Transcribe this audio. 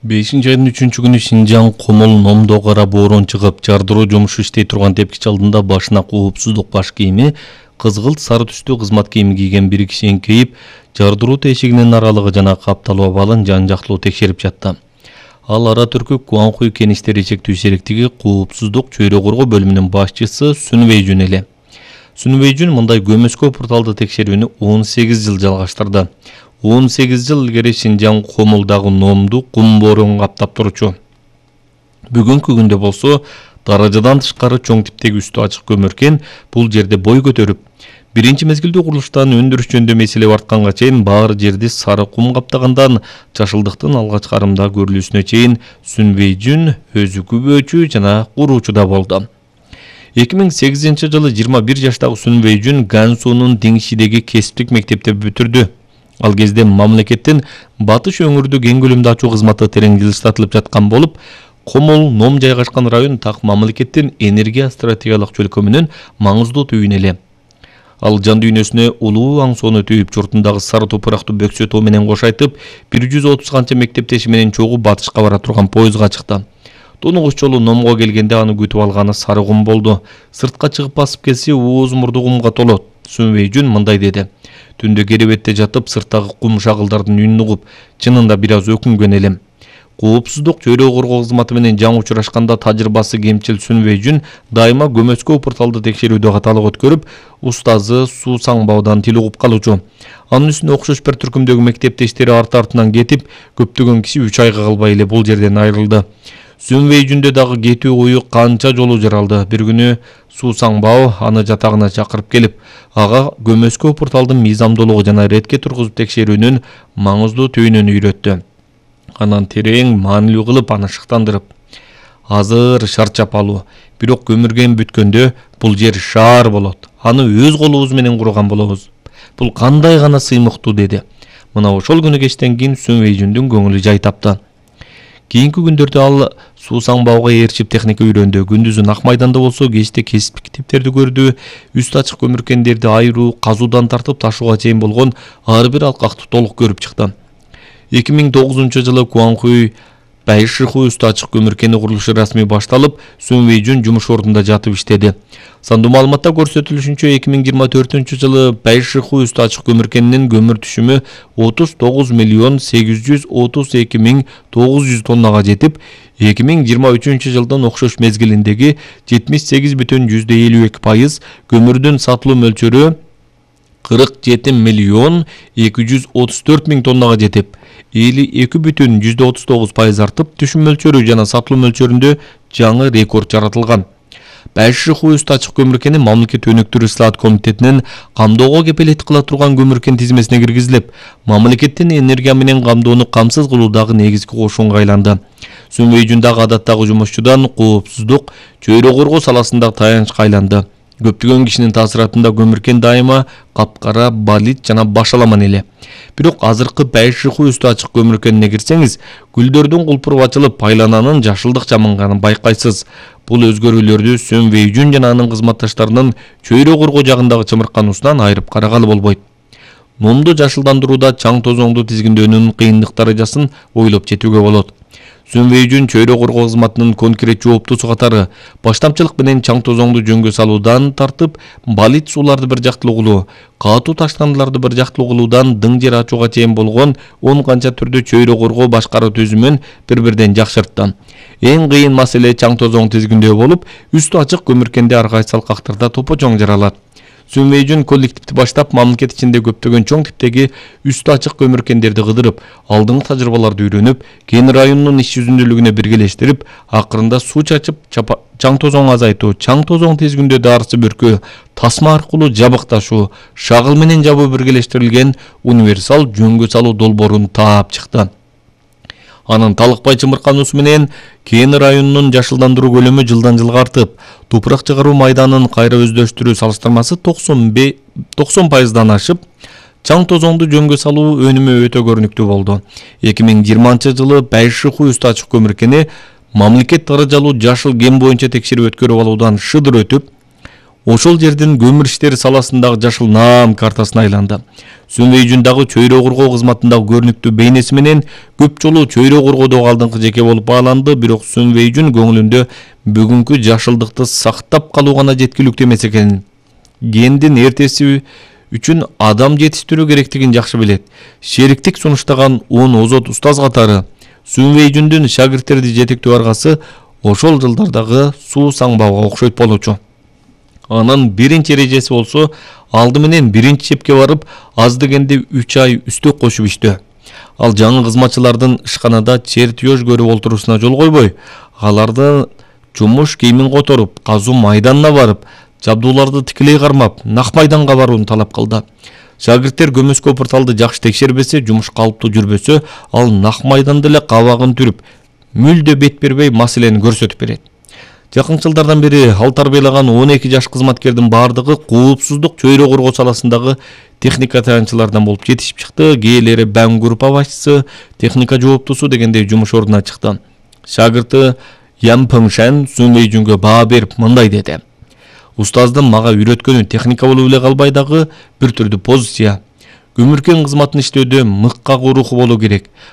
5-айдын 3-күнү Шинжаң Комол Номдо кара боорон чыгып, жардыруу жумушу иштей турган тепкич алдында башына коопсуздук баш кийими, кызгылт сары түстүү кызмат кийими кийген бир киши эңкейип, жардыруу тешигинин аралыгы жана капталуу абалын жан-жактылуу текшерип жатты. Ал ара түркү Куанхуй кеништери чектүү сериктиги коопсуздук чөйрө коргоо бөлүмүнүн башчысы Сүн Вэйжүн эле. Сүн Вэйжүн мындай көмөскө порталды текшерүүнү 18 жыл жалгаштырды. 18 жыл илгери Шинжаң Комолдагы Номду кум боорун каптап турчу. Бүгүнкү күндө болсо даражадан тышкары чоң типтеги үстү ачык көмөркен бул жерде бой көтөрүп, биринчи мезгилде курулуштан өндүрүш жөнүндө маселе бартканга чейин баары жерди сары кум каптагандан чашылдыктын алгач карымда көрүлүүсүнө чейин Сүн Вэйжүн өзү күбөөчү жана куруучу да болду. 2008 жылы 21 жаштагы Сүн Вэйжүн Гансунун Диңшидеги кесиптик мектепти бүтүрдү. Ал кезде мамлекеттин батыш өңүрдү кең көлөмдө ачуу кызматы терең жылыштатылып жаткан болуп, Комол Ном жайгашкан район так мамлекеттин энергия стратегиялык чөлкөмүнүн маңыздуу түйүнү эле. Ал жан дүйнөсүнө улуу аң соону түйүп, журтундагы сары топурактуу бөксө тоо менен кошайтып, 130 канча мектептеши менен чогуу батышка бара турган поездга чыкты. Тунугуч жолу Номго келгенде аны күтүп алганы сары кум болду. Сыртка чыгып басып келсе, ооз мурду кумга толот. Сүн Вэйжүн мындай деди: "Түндө керебетте жатып, сырттагы кум шагылдардын үнүн угуп, чынында бир аз өкүнгөн элем." Коопсуздук чөйрө коргоо кызматы менен жаңы учурашканда тажрыйбасы кемчил Сүн Вэйжүн дайыма көмөскө порталды текшерүүдө каталык өткөрүп, устазы Суу Саңбаодан тил угуп калуучу. Анын үстүнө окшош бир түркүмдөгү мектептештери арты-артынан кетип, көптөгөн киши 3 айга калбай эле бул жерден айрылды. Сүн Вэйжүндө дагы кетүү ою канча жолу жаралды. Бир күнү Суу Саңбао аны жатагына чакырып келип, ага көмөскө порталдын мыйзамдуулугу жана ретке тургузуп текшерүүнүн маңыздуу түйүнүн үйрөттү. Анан терең маанилүү кылып аны шыктандырып: "Азыр шар чапалуу, бирок көмүрген бүткөндө бул жер шаар болот. Аны өз колубуз менен курган болобуз. Бул кандай гана сыймыктуу" деди. Мына ошол күнү кечтен кийин Сүн Вэйжүндүн көңүлү жай тапты. Кийинки күндөрдө ал Суу Саңбаога ээрчип техника үйрөндү. Күндүзүн ак майданда болсо, кечте кесиптик китептерди көрдү. Үстү ачык көмүркендерди айыруу, казуудан тартып ташууга чейин болгон ар бир алкакты толук көрүп чыкты. 2009 жылы Куанхуй Байшиху үстү ачык көмүркени курулушу расмий башталып, Сүн Вэйжүн жумуш ордунда жатып иштеди. Сандуу маалыматта көрсөтүлүшүнчө 2024 жылы Байшиху үстү ачык көмүркенинин көмүр түшүмү 39.832.900 тоннага жетип, 2023 жылдын окшош мезгилиндеги 78,52% көмүрдүн сатылуу мөлчөрү 47.234.000 тоннага жетип, 52,39% артып, түшүм мөлчөрү жана сатылуу мөлчөрүндө жаңы рекорд жаратылган. Байшиху үстү ачык көмүркени мамлекет өнүктүрүү ислаат комитетинин камдоого кепилет кыла турган көмүркен тизмесине киргизилип, мамлекеттин энергия менен камдоону камсыз кылуудагы негизги кошунга айланды. Сүн Вэйжүн дагы адаттагы жумушчудан коопсуздук чөйрө коргоо саласында таянычка айланды. Көптөгөн кишинин таасиратында көмүркен дайыма капкара, балит жана башаламан эле. Бирок азыркы Байшиху үстү ачык көмүркенине кирсеңиз, гүлдөрдүн кулпуруп ачылып, айлананын жашылдык жаманганын байкайсыз. Бул өзгөрүүлөрдү Сүн Вэйжүн жана анын кызматташтарынын чөйрө коргоо жагындагы чымыркануусунан айырып карагалы болбойт. Номду жашылдандырууда чаң тозоңду тизгиндөөнүн кыйындык даражасын ойлоп жетүүгө болот. Сүн Вэйжүн чөйрө коргоо кызматынын конкрет жооптусу катары баштамчылык менен чаң тозоңду жөнгө салуудан тартып, балит сууларды бир жактылуу кылуу, катуу таштандыларды бир жактылуу кылуудан дың жер ачууга чейин болгон 10 канча түрдүү чөйрө коргоо башкаруу түзүмүн бири-бирден жакшыртты. Эң кыйын маселе чаң тозоң тизгиндөө болуп, үстү ачык көмүркенде ар кайсы алкактарда топо-чоң жаралат. Сүн Вэйжүн коллективди баштап, мамлекет ичинде көптөгөн чоң типтеги үстү ачык көмүркендерди кыдырып, алдыңкы тажрыйбаларды үйрөнүп, Кен районунун иш жүзүндүүлүгүнө биргелештирип, акырында суу чачып, чаң тозоң азайтуу, чаң тозоң тизгиндөө дарысы бүркөө, тасма аркылуу жабыкташуу, шагыл менен жабуу биргелештирилген универсал жөнгө салуу долбоорун таап чыкты. Анын талыкпай чымыркануусу менен Кен районунун жашылдандыруу көлөмү жылдан жылга артып, тупурак чыгаруу майданын кайра өздөштүрүү салыштырмасы 90%дан ашып, чаң тозоңду жөнгө салуу өнүмү өтө көрүнүктүү болду. 2020 жылы Байшиху үстү ачык көмүркени мамлекет даражалуу жашыл ген боюнча текшерип өткөрүп алуудан шыдыр өтүп, ошол жердин көмүр иштери саласындагы жашыл наам картасына айланды. Сүнвейжүндагы чөйрө коргоо кызматындагы көрүнүктүү бейнеси менен көп жолу чөйрө коргоодогу алдыңкы жеке болуп бааланды, бирок Сүнвейжүн көңүлүндө бүгүнкү жашылдыкты сактап калуу гана жеткиликтүү эмес экенин, кендин эртеси үчүн адам жетиштирүү керектигин жакшы билет. Шериктик сунуштаган 10 озот устаз катары Сүнвейжүндүн шагирттерди жетектөө аргасы ошол жылдардагы суу саңбауга окшойт болчу. Анын биринчи эрежеси болсо, алды менен биринчи чепке барып, аз дегенде 3 ай үстөк кошуп иштөө. Ал жаңы кызматчылардын ишканада чертеж көрүп олтуруусуна жол койбой, аларды жумуш кийимин которуп, казуу майданына барып, жабдууларды тикелей кармап, нак майданга барууну талап кылды. Шагирттер көмөскө порталды жакшы текшербесе, жумуш калыптуу жүрбөсө, ал нак майданда эле кабагын түрүп, мүлдө бет бербей маселени көрсөтүп берет. Жакын жылдардан бери ал тарбиялаган 12 жаш кызматкердин бардыгы коопсуздук чөйрө коргоо саласындагы техника таянчылардан болуп жетишип чыкты. Кээделери Бәң группа башчысы, техника жооптусу дегендей жумуш ордуна чыкты. Шагырты Ян Пыңшан Сүнвейжүнгө баа берип мындай деди: "Устаздын мага үйрөткөнү техника болуп эле калбай дагы бир түрдүү позиция. Көмүркен кызматын иштөөдө мыкка руху болуу керек.